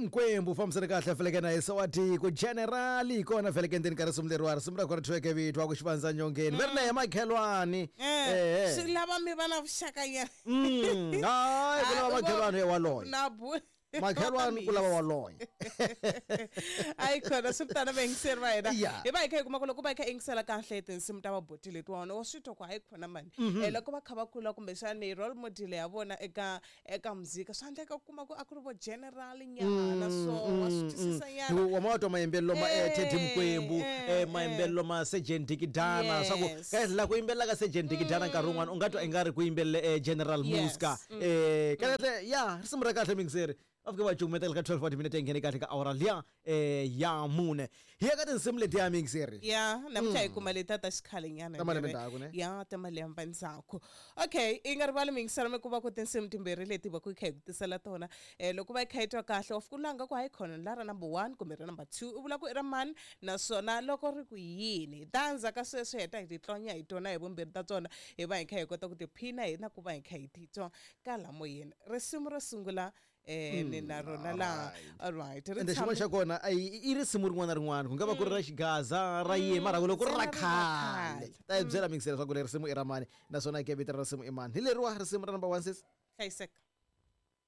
Mkwembu fambisana kahle feleke na yesa wa tiko generali hi kona feleke ndzeni ka risimu leriwa risimu ra kona thweke vito wa ku xivandza nyongeni va ri na ya makhelwani. Eh, swi lava mi va na vuxaka nyana. Hayi, ku lava makhelwani ya waloye. Na bu Makhelwani ku lava waloye. Ayi khona, swi ri tano vayingiseri va hina. Ya. Hi va hi kha hi kuma ku loko va hi kha yingisela kahle tinsimu ta vabuti letiwani, wa swi twa ku hayi khona mani. Loko va kha va kula, kumbexani role model ya vona eka muzika, swa endleka ku kuma ku a ku ri vo general nyana, so wa swi twisisa nyana. Wa ma twa mayimbelelo ma Teddy Mkwembu, mayimbelelo ma Sergeant Dikidana, swa ku kahle la ku yimbelela ka Sergeant Dikidana nkarhi wun'wana u nga twa ingari ku yimbelele General Muska. Kahle ya risimu ra kahle mingiseri. Va fike va cukumetela ka 12 wa timinete yi nghene kahle ka awara liya ya mune. Hi ya ka tinsimu letiya mingiseri. Ya, namuntlha hi kuma letiya ta xikhale nyana. Ta malembe ndzhaku, ne? Ya, ta malembe ndzhaku. Okay, i nga rivali mingiselo mi ku va ku tinsimu timbirhi leti va ku hi kha hi ku tisela tona. Loko va yi kha yi twa kahle, wa fika u langa ku hayi khona la ra number 1 kumbe ra number 2, u vula ku i ra mani, naswona loko ri ku yini. Ta ndzhaku ka sweswo hi heta hi titlonya hi tona hi vumbirhi ta tona, hi va hi kha hi kota ku tiphina hi na ku va hi kha hi titwa ka la moyeni. Risimu ro sungula ni na rona laha. All right. Ri Ende xin'wana tshame xa kona, a i risimu rin'wana na rin'wana, ku nga va ku ri ra xigaza, ra yini, mara loko ku ri ra Ntsena ri ra khale, khale. Ta hi byela mingisela swa ku leri risimu i ra mani, naswona ke vito ra risimu i mani. Hi leriwa risimu ra number 1 sis. Hlayiseka.